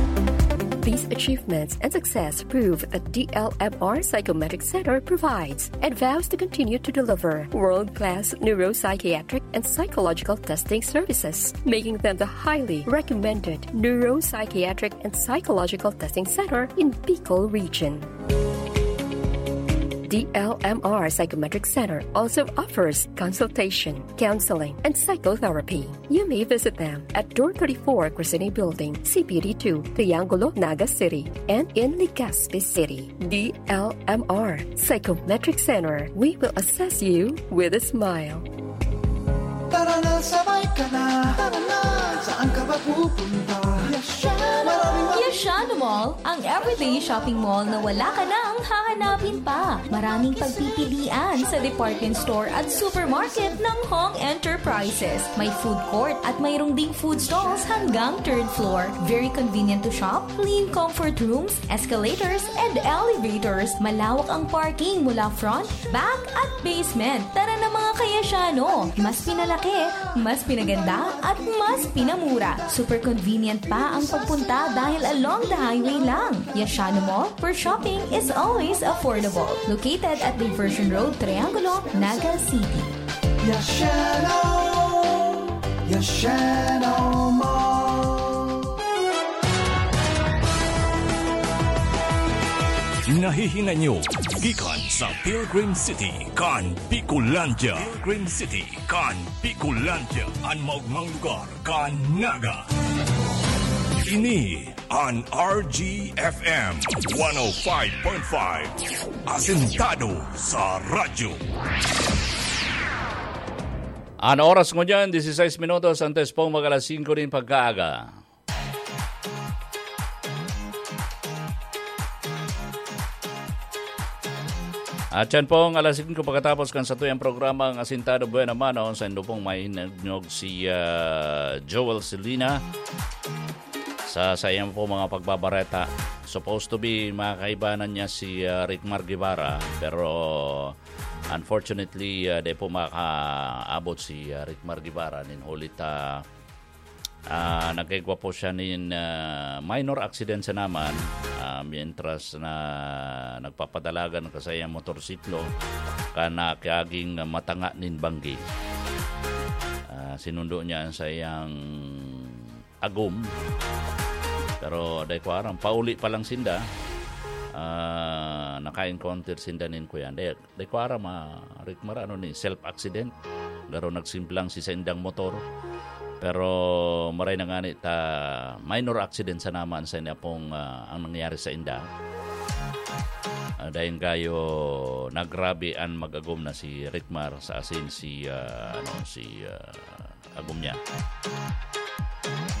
These achievements and success prove that D L M R Psychometric Center provides and vows to continue to deliver world-class neuropsychiatric and psychological testing services, making them the highly recommended neuropsychiatric and psychological testing center in Bicol region. D L M R Psychometric Center also offers consultation, counseling, and psychotherapy. You may visit them at Door thirty-four, Crescene Building, C P D two, Triangulo, Naga City, and in Legazpi City. D L M R Psychometric Center. We will assess you with a smile. Tara na, sabay ka na. Tara na, saan ka ba pupunta? Yashano! Maraming Yashano Mall, ang everyday shopping mall na wala ka nang hahanapin pa. Maraming pagpipilian sa department store at supermarket ng Hong Enterprises. May food court at mayroong ding food stalls hanggang third floor. Very convenient to shop, clean comfort rooms, escalators, and elevators. Malawak ang parking mula front, back, at basement. Tara na, mga kayasyano! Mas pinalaki, mas pinaganda, at mas pinamura. Super convenient pa ang pagpunta dahil along the highway lang. Yashano Mall, where shopping is always affordable. Located at Diversion Road, Triangulo, Naga City. Yashano! Yashano Mall! Nahihinay nyo gikan sa Pilgrim City kan Bicolandia. Pilgrim City kan Bicolandia, an maogmang lugar kan Naga. Ini an R G F M one oh five point five, asentado sa radyo. An oras ngunyan, dieciséis minutos antes pong mag-alas singko nin pagkaaga. At yan pong alas singko pagkatapos kan satuyang programa, ang Asintado Buena Mano, sa indo pong mahinagnog si, ah, Joel Selina sa saiyang po mga pagbabareta. Supposed to be, makakaibanan niya si, ah, Rickmar Guevara, pero unfortunately, ah, di po makaabot si, ah, Rickmar Guevara nin huli ta, ah, nagkaigwa po siya nin, ah, minor accident sa naman, ah, mientras na nagpapadalagan ka sa iyang motorsiklo, kan nakiaging matanga nin banggi. Ah, sinundo niya sa iyang agom. Pero dai ko aram, pauli pa lang sinda, ah, naka-encounter sinda nin kuyan. Dai, dai ko aram, ah, Rickmar, ano ni, self-accident. Garo nagsimplang si saindang motor. Pero maray na ngani ta minor accident sa naman sa inda pong, ah, ang nangyari sa inda. Ah, dahil gayo nagrabe an mag-agom na si Rickmar sa asin si, ah, ano, si, ah, agom niya.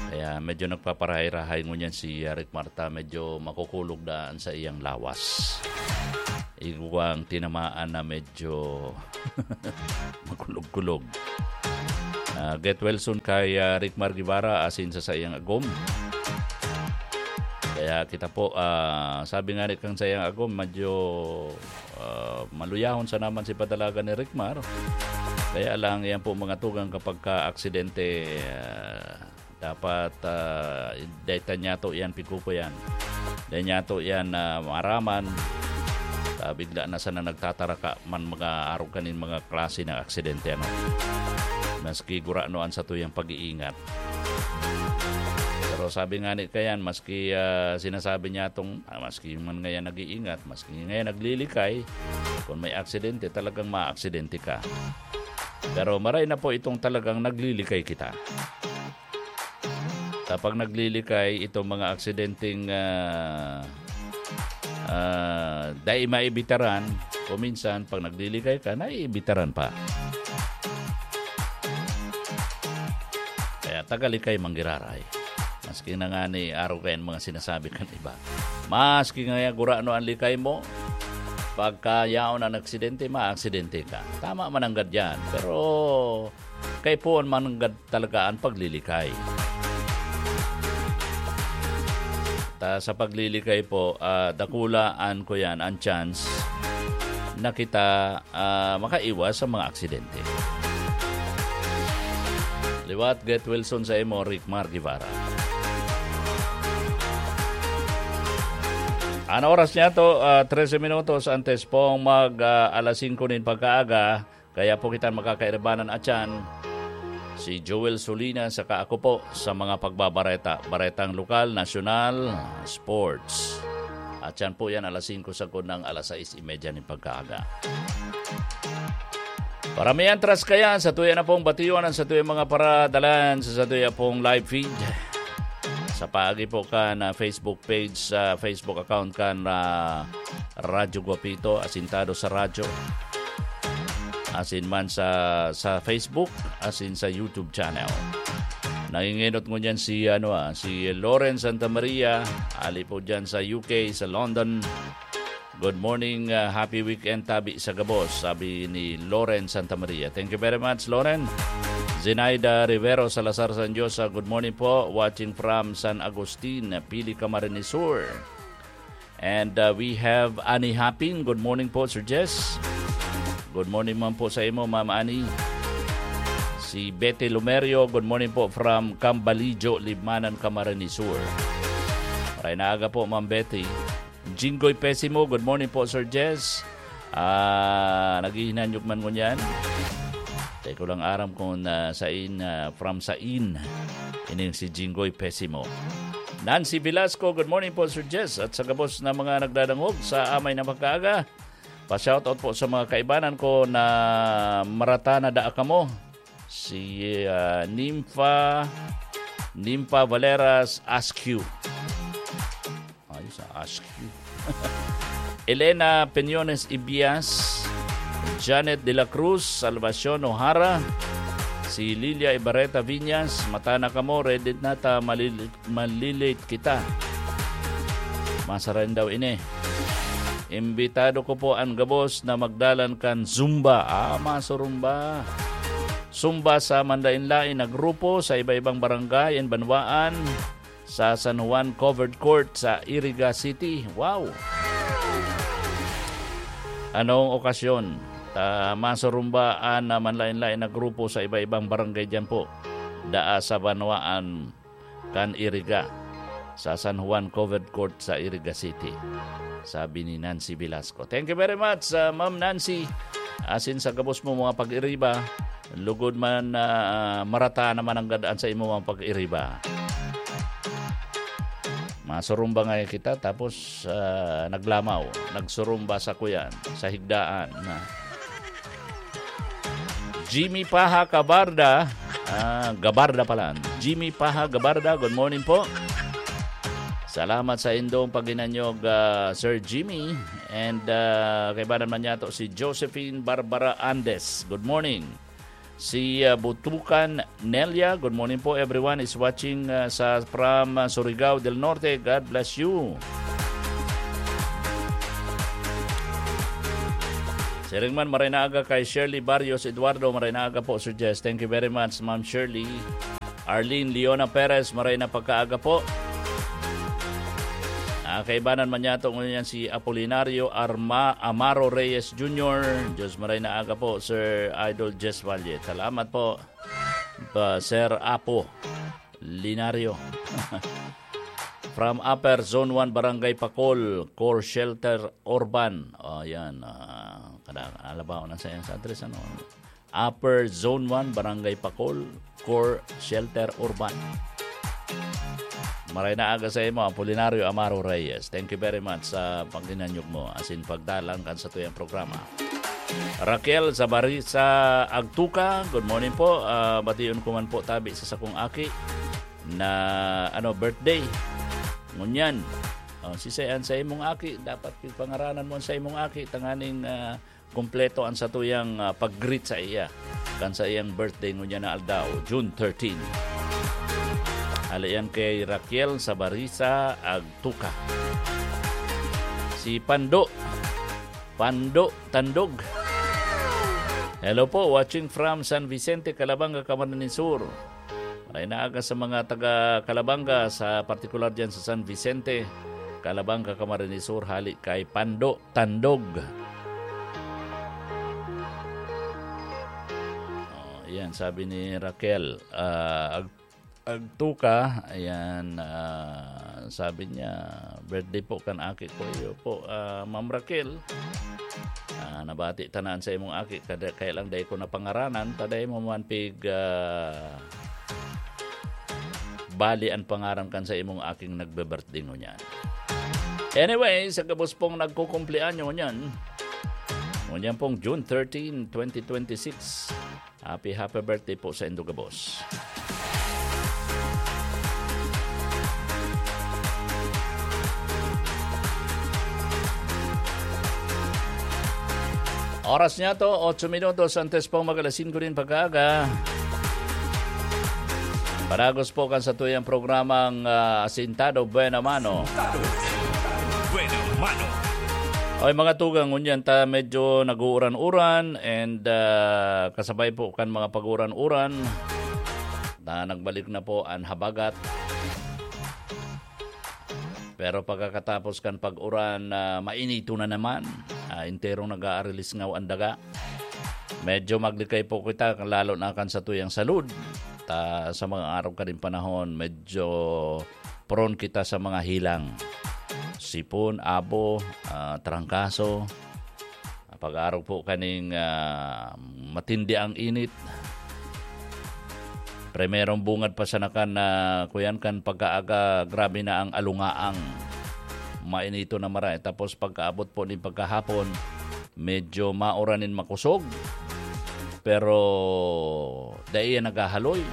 Kaya medyo nagpaparahay-rahay ngunyan si, ah, Rickmar ta, medyo makukulog daan sa iyang lawas. Igwang tinamaan na medyo makulog-kulog. Ah, get well soon kay, ah, Rickmar Guevara asin sa saiyang agom. Kaya kita po, ah, sabi nga ni kang saiyang agom, medyo ah, maluyahon sa naman si padalagan ni Rickmar. Kaya lang, yan po mga tugang kapag ka-aksidente, ah, dapat, ah, dai ta niyato yan pikukuyan. Dai niyato yan, ah, maaraman. Ah, bigla na sana nagtataraka man mga arog kanin mga klase ng aksidente, ano. Maski gurano an satuyang pag-iingat. Pero sabi nga ni kayan, maski, ah, sinasabi niya tong, ah, maski man ngayon nag-iingat, maski ngayon naglilikay, kung may aksidente, talagang maaksidente ka. Pero maray na po itong talagang naglilikay kita. Kapag naglilikay itong mga aksidenteng, ah, ah, dai maibitaran, o minsan, pag naglilikay ka, naiibitaran pa. Kaya tagalikay manggiraray. Maski na nga ni araw kayan mga sinasabi kan iba. Maski nga ya gurano ang likay mo, pagka yaon ang aksidente, maaksidente ka. Tama man ang gadyan, pero kaipuhan man ang gad-, talaga ang paglilikay. Ta, sa paglilikay po, ah, dakulaan ko yan, ang chance na kita, ah, makaiwas sa mga aksidente. Liwat, get well soon sa imo, Rickmar Guevara. Ang oras niya to, ah, trese minutos antes pong mag, ah, alas singko nin pagkaaga. Kaya po kita makakairbanan atyan, si Joel Solina saka ako po sa mga pagbabareta, baretang lokal, nasyonal, sports. At yan po yan, alas singko sagkod ng alas sais y media nin pagkaaga. Para may antras kayan, sa tuya na pong batiwan ang sa tuya mga paradalan, sa, sa tuya pong live feed. Sa paagi po kan, ah, Facebook page, sa Facebook account kan, ah, Radyo Guapito, Asintado sa Radyo. Asin man sa, sa Facebook, asin sa YouTube channel. Nangingenot ngunyan si, ano, ah, si Lauren Santa Maria, ali po dyan sa U K, sa London. "Good morning, ah, happy weekend tabi sa gabos," sabi ni Lauren Santa Maria. Thank you very much, Lauren. Zenaida Rivero Salazar San Diosa, "Good morning po, watching from San Agustin, Pili, Camarines Sur." And, uh, we have Annie Hapin. "Good morning po, Sir Jess." Good morning man po sa imo, Ma'am Annie. Si Betty Lumerio, "Good morning po from Cambalijo, Libmanan, Camarines Sur." Maray na aga po, Ma'am Betty. Jinggoy Pesimo, "Good morning po, Sir Jess." Ah, naghihinanyog man ngunyan. Di ko lang aram kung, ah, sain, ah, from sain. Ining si Jinggoy Pesimo. Nancy Velasco, "Good morning po, Sir Jess. At sa gabos na mga nagdadangog sa amay na pagkaaga. Pa-shoutout po sa mga kaibanan ko na marata na daa kamo. Si, ah, Nympha, Nympha Valeras Askew." Ayos, ah, Askew. Elena Peñones Ibias, Janet de la Cruz, Salvacion O'Hara, si Lilia Ibarreta Viñas, "Mata na kamo, ready na ta, malil-, malilate kita." Masarain daw ini. "Imbitado ko po an gabos na magdalan kan Zumba." Ah, masurumba. Zumba sa manlaen-laen na grupo sa iba-ibang barangay and banwaan sa San Juan Covered Court sa Iriga City. Wow! Anong okasyon? Ta, masurumbaan na manlaen-laen na grupo sa iba-ibang barangay diyan po. Daa sa banwaan kan Iriga, sa San Juan Covered Court sa Iriga City. Sabi ni Nancy Velasco. Thank you very much, ah, Ma'am Nancy. Asin sa gabos mo mga pag-iriba, lugod man, ah, marata naman ang gadaan sa imo mga pag-iriba. Masurumba nga kita, tapos, ah, naglamaw, nagsurumba sa kuyan, sa higdaan, na. Jimmy Paha Gabarda, ah, Gabarda pala. Jimmy Paha Gabarda, good morning po. Salamat sa indong paghinanyog, ah, Sir Jimmy. And, ah, kaibanan man niya to si Josephine Barbara Andes. Good morning. Si, ah, Butukan Nelia, good morning po. Everyone is watching, ah, sa, from, ah, Surigao del Norte. God bless you. Siring man, maray na aga kay Shirley Barrios Eduardo. Maray na aga po, Sir Jess. Thank you very much, Ma'am Shirley. Arlene Leona Perez, maray na pagkaaga po. Ah, kaibanan man niya to ngunyan si Apolinario Arma-, Amaro Reyes Junior. Diyos, maray na aga po, Sir Idol Jess Valle. Salamat po, pa, Sir Apo Linario. From Upper Zone one, Barangay Pacol, Core Shelter Urban. O, yan. Ah, kada, alabaw na sa, sa address, ano? Upper Zone one, Barangay Pacol, Core Shelter Urban. Maray na aga sa imo, Apolinario Amaro Reyes. Thank you very much sa paghinanyog mo, asin pagdalan kan satuyang programa. Raquel Zabarisa Agtuca, good morning po. Ah, bation ko man po tabi sa sakong aki na, ano, birthday. Ngunyan, oh, si Sayan sa imong aki, dapat pangaranan mo sa imong aki, tanganing, ah, kumpleto ang satuyang, ah, pag-greet sa iya kan sa iyang birthday ngunyan na aldaw, June thirteen. Hale yan kay Raquel Sabarisa Agtuca. Si Pando, Pando Tandog. Hello po, watching from San Vicente, Calabanga, Camarines Sur. Maray na aga sa mga taga Calabanga, sa partikular diyan sa San Vicente, Calabanga, Camarines Sur, hale kay Pando Tandog. Oh, yan, sabi ni Raquel, ah, Ag-, Agtuca, ayan, ah, sabi niya, "Birthday po kan aki ko." Iyo po, ah, Ma'am Raquel, ah, nabati tanan sa imong aki, kada, kaya lang dai ko napangaranan, ta dai mo man pig, ah, bali an pangaran kan sa imong aking nagbe-birthday ngunyan. Anyway, sa gabos pong nagkukumpleanyo ngunyan, ngunyan pong June thirteen, twenty twenty-six, happy, happy birthday po sa indo gabos. Oras niya to, otso minutos antes pong mag-alas singko nin pagkaaga. Padagos po kan satuyang programang, ah, Asintado Buena Mano. Buena Mano. Oy, mga tugang, ngunyan ta medyo nag-uuran-uran and, ah, kasabay po kan mga pag-uran-uran na nagbalik na po an habagat. Pero pagkakatapos kan pag-uran, ah, mainito na naman. Ah, enterong nag-aarilisngaw an daga. Medyo maglikay po kita, lalo na kan satuyang salud. Ta, sa mga araw kaning panahon, medyo prone kita sa mga hilang. Sipon, abo, ah, trangkaso. Pag-arog po kaning, ah, matindi ang init. Primerong bungad pa sana kan, ah, kuyan kan pagkaaga, grabe na ang alungaang. Mainito na maray. Tapos pagkaabot po nin pagkahapon, medyo mauran nin makosog. Pero dai yan naghahaloy.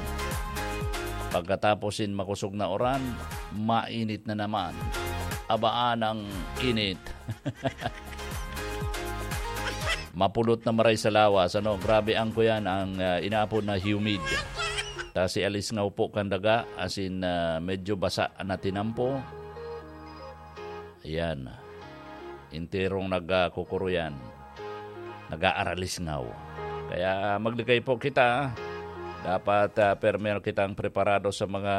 Pagkatapos nin makosog na uran, mainit na naman. Abaan ang init. Mapulot na maray sa lawas, ano, grabe ang kuyan, ang, ah, inaapod na humid. Ta si alisngaw po kan daga, as in, ah, medyo basa na tinampo. Ayan. Enterong nagkukuro yan. Nag-aaralisngaw. Kaya maglikay po kita. Dapat, ah, permer kitang preparado sa mga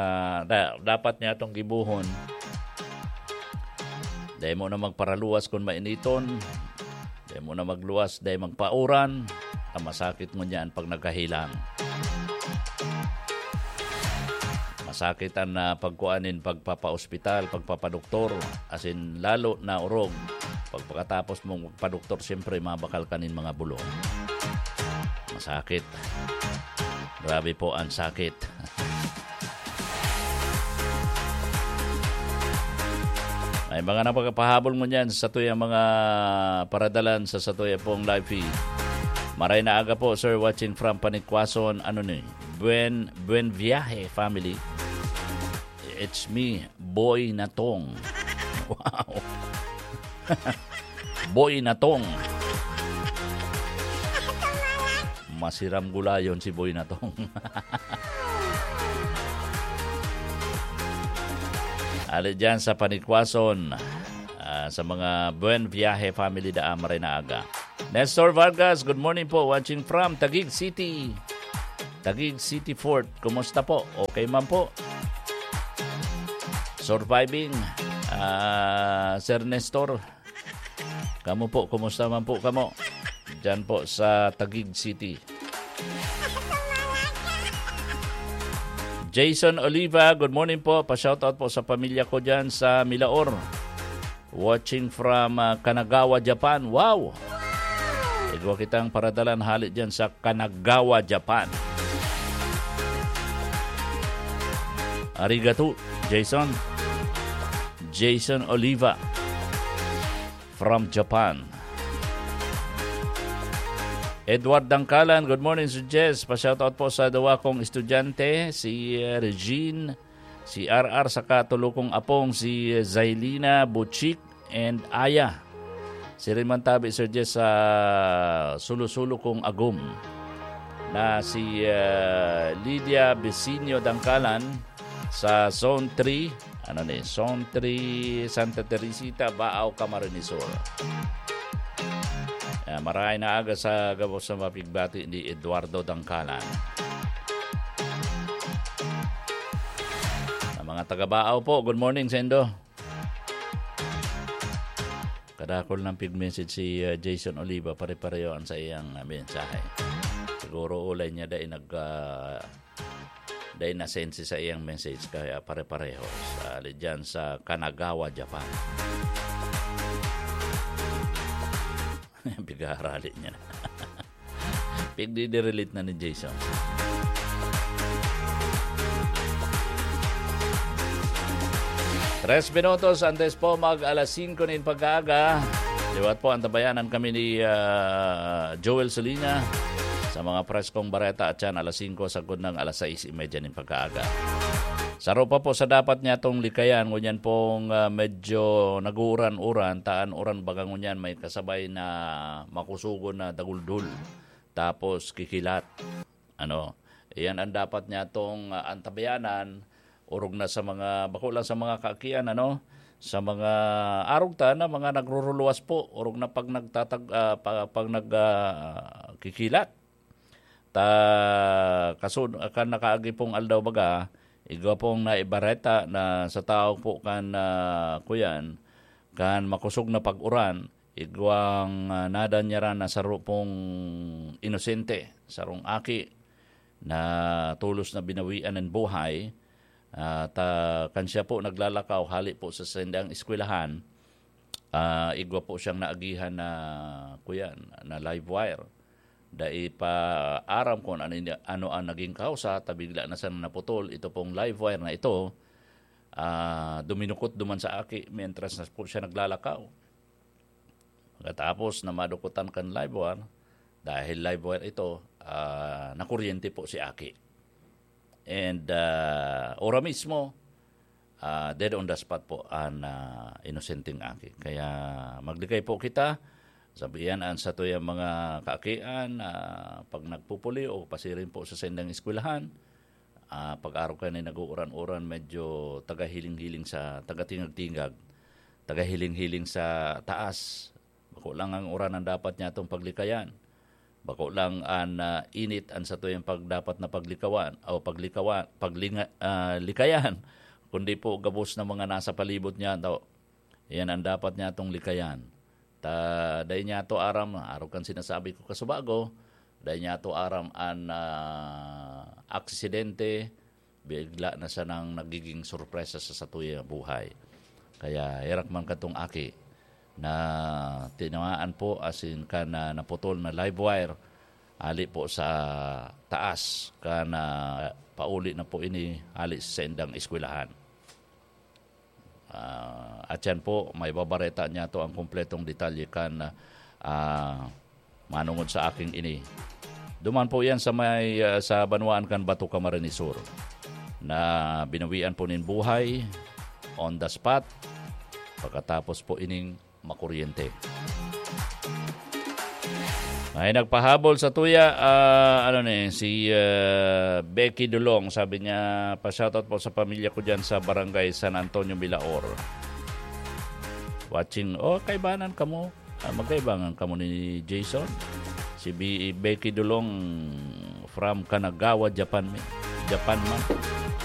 da-, dapat niya itong gibuhon. Dai mo na magparaluwas kun mainiton. Dai mo na magluwas, dai magpauran. Ang masakit ngunyan pag nagkahilang. Masakit an, ah, pagkuan nin pagpapaospital, pagpapadoktor, asin lalo na orog. Pagpakatapos mong magpadoktor, siyempre, mabakal ka nin mga bulong. Masakit. Grabe po ang sakit. May mga napakapahabol mo niyan sa satuyang mga paradalan sa satuya pong live feed. Maray na aga po, sir, watching from Panikwason, ano ni? Buen, buen viaje, family. It's me, Boy Natong. Wow. Boy Natong. Masiram gulayon si Boy Natong. Ali dyan sa Panikwason, ah, sa mga Buen Viaje family daan, maray na aga. Nestor Vargas, good morning po. Watching from Taguig City. Taguig City Fort. Kumusta po? Okay man po. Surviving, ah, Sir Nestor. Kamo po, kumusta man po kamo? Diyan po sa Taguig City. Jason Oliva, good morning po. Pa-shoutout po sa pamilya ko diyan sa Milaor. Watching from, ah, Kanagawa, Japan. Wow! Igwa kitang paradalan hali diyan sa Kanagawa, Japan. Arigato, Jason. Jason Oliva from Japan. Edward Dangkalan, good morning, Sir Jess. Pa-shoutout po sa duwa kong estudyante, si, eh, Regine, si R R, saka tulo kong apong, si, eh, Zailina, Butchik, and Aya. Siring man tabi, Sir Jess, sa sulo-sulo kong agom na si, eh, Lydia Bisinio Dangkalan, sa Zone three, ano ni, Zone three, Santa Teresita, Baao, Camarines Sur. Ah, maray na aga sa gabos na mapigbati ni Eduardo Dangkalan. Sa mga taga Baao po, good morning sa indo. Kadakol ng pig-message si, uh, Jason Oliva, pare-pareho ang sa iyang, uh, mensahe. Siguro ulay niya dai nag, uh, dai na-send si sa iyang message, kaya pare-pareho. Sa, dyan sa Kanagawa, Japan. Pigharali niya na. Pigdidirelate na ni Jason. Tres minutos antes po mag alas singko nin pag-aaga. Liwat po, antabayanan kami ni, ah, Joel Solina sa mga preskong bareta at yan alas singko sagkod ng alas sais y media nin pagkaaga. Saro pa po sa dapat niya tong likayan, ngunyan pong, ah, medyo nag-uuran-uran, taan uran baga ngunyan may kasabay na makusugon na daguldol. Tapos kikilat. Ano, Iyan ang dapat niya tong, ah, antabayanan, orog na sa mga, bako lang sa mga kaakian, ano, sa mga arog ta na mga nagruruluwas po, orog na pag nagtatag-, ah, pa-, pag nag-, ah, kikilat. Ta, kasun-, kan nakaagi pong aldaw baga, igwa pong naibareta na sa tao po kan, ah, kuyan, kan makosog na pag-uran, igwang, ah, nadanyaran na saro pong inosente, sarong aki na tolos na binawian nin buhay. At, ah, kan siya po naglalakaw hali po sa saindang eskwelahan, ah, igwa po siyang naagihan na, kuyan, na live wire. Dai pa aram kung ano, ano ang naging kausa, ta bigla na siyang naputol. Ito pong live wire na ito, ah, duminukot duman sa aki mientras na po siya naglalakaw. Pagkatapos na madukutan kan live wire, dahil live wire ito, ah, nakuryente po si aki. And, ah, ora mismo, ah, dead on the spot po an, ah, inosenteng aki. Kaya maglikay po kita. Sabihan an satuyang mga kaakian, ah, pag nagpupuli o pasiring po sa saindang eskwelahan, ah, pag-arog kan nag-uuran-uran, medyo tagahiling-hiling sa, tagatingag-tingag, tagahiling-hiling sa taas. Bako lang an uran an dapat niyatong paglikayan. Bako lang an, ah, init an satuyang pag-, dapat na paglikawan o paglikawan, paglinga-, ah, likayan, kundi po gabos na mga nasa palibot niyato. Iyan an dapat niyatong likayan. Ta, dai niyato aram, arog kan sinasabi ko kasubago, dai niyato aram an, ah, aksidente, bigla na sanang nagiging sorpresa sa satuyang buhay. Kaya herak man kadtong aki na tinamaan po, asin kan, ah, naputol na live wire, hali po sa taas, kan, ah, pauli na po ini hali sa saindang eskwelahan. Ah, at yan po, maibabareta niyato an kompletong detalye kan, ah, manongod sa aking ini. Duman po yan sa may, ah, sa banwaan kan Bato, Camarines Sur, na binawian po nin buhay on the spot, pagkatapos po ining makuryente. May nagpahabol sa tuya, ah, ano ni, si, ah, Becky Dulong, sabi niya, "Pa-shoutout po sa pamilya ko diyan sa Barangay San Antonio, Milaor." Watching, oh, kaibanan kamo. Ah, magkaibangan kamo ni Jason. Si Be-, Becky Dulong from Kanagawa, Japan, mi-, Japan man.